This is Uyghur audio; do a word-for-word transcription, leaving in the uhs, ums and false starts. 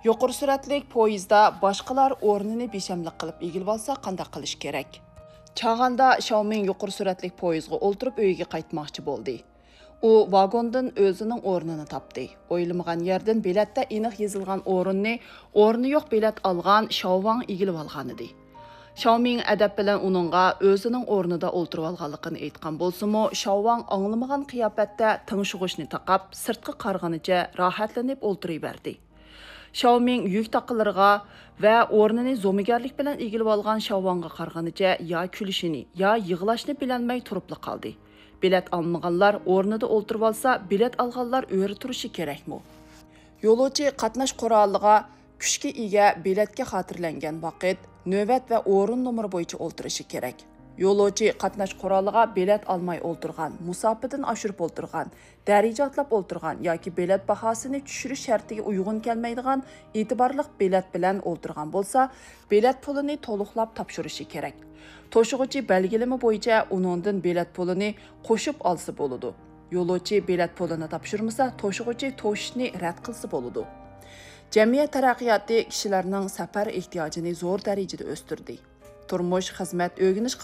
يۇقىرى سۈرئەتلىك پويىزدا باشقىلار ئورنىنى بىشەملىك قىلىپ ئىگىلىۋالسا قانداق قىلىش كېرەك؟ چاغاندا شاۋمىڭ يۇقىرى سۈرئەتلىك پويىزغا ئولتۇرۇپ ئۆيىگە قايتماقچى بولدى. ئۇ ۋاگوندىن ئۆزىنىڭ ئورنىنى تاپتى. ئويلىمىغان يەردىن بېلەتتە ئېنىق يېزىلغان ئورۇننى ئورنى يوق بېلەت ئالغان شاۋۋاڭ ئىگىلىۋالغانىدى. شاۋمىڭ ئەدەپ بىلەن ئۇنىڭغا ئۆزىنىڭ ئورنىدا ئولتۇرۇۋالغانلىقىنى ئېيتقان بولسىمۇ، شاۋۋاڭ ئاڭلىمىغان قىياپەتتە تىڭشىغۇچنى تاقاپ، سىرتقا قارىغىنىچە راھەتلىنىپ ئولتۇرۇۋەردى. شاۋمىڭ يۈك تاقىلىرىغا ۋە ئورنىنى زومىگەرلىك بىلەن ئىگىلىۋالغان شاۋۋاڭغا قارىغىنىچە يا كۈلۈشىنى، يا يىغلاشنى بىلەلمەي تۇرۇپلا قالدى. بېلەت ئالمىغانلار ئورنىدا ئولتۇرۇۋالسا، بېلەت ئالغانلار ئۆرە تۇرۇشى كېرەكمۇ؟ يولۇچى قاتناش قورالىغا كۈچكە ئىگە بېلەتكە خاتىرىلەنگەن ۋاقىت، نۆۋەت ۋە ئورۇن نومۇرى بويىچە ئولتۇرۇشى كېرەك. يولۇچى قاتناش قورالىغا بېلەت ئالماي ئولتۇرغان، مۇساپىدىن ئاشۇرۇپ ئولتۇرغان، دەرىجە ئاتلاپ ئولتۇرغان ياكى بېلەت باھاسىنى چۈشۈرۈش شەرتىگە ئۇيغۇن كەلمەيدىغان ئېتىبارلىق بېلەت بىلەن ئولتۇرغان بولسا، بېلەت پۇلىنى تولۇقلاپ تاپشۇرۇشى كېرەك. توشۇغۇچى بەلگىلىمە بويىچە ئۇنىڭدىن بېلەت پۇلىنى قوشۇپ ئالسا بولىدۇ. يولۇچى بېلەت پۇلىنى تاپشۇرمىسا، توشۇغۇچى توشۇشنى رەت قىلسا بولىدۇ. جەمئىيەت تەرەققىياتى كىشىلەرنىڭ سەپەر ئېھتىياجىنى زور دەرىجىدە ئۆستۈردى. تۇرمۇش، خىزمەت، ئۆگىنىش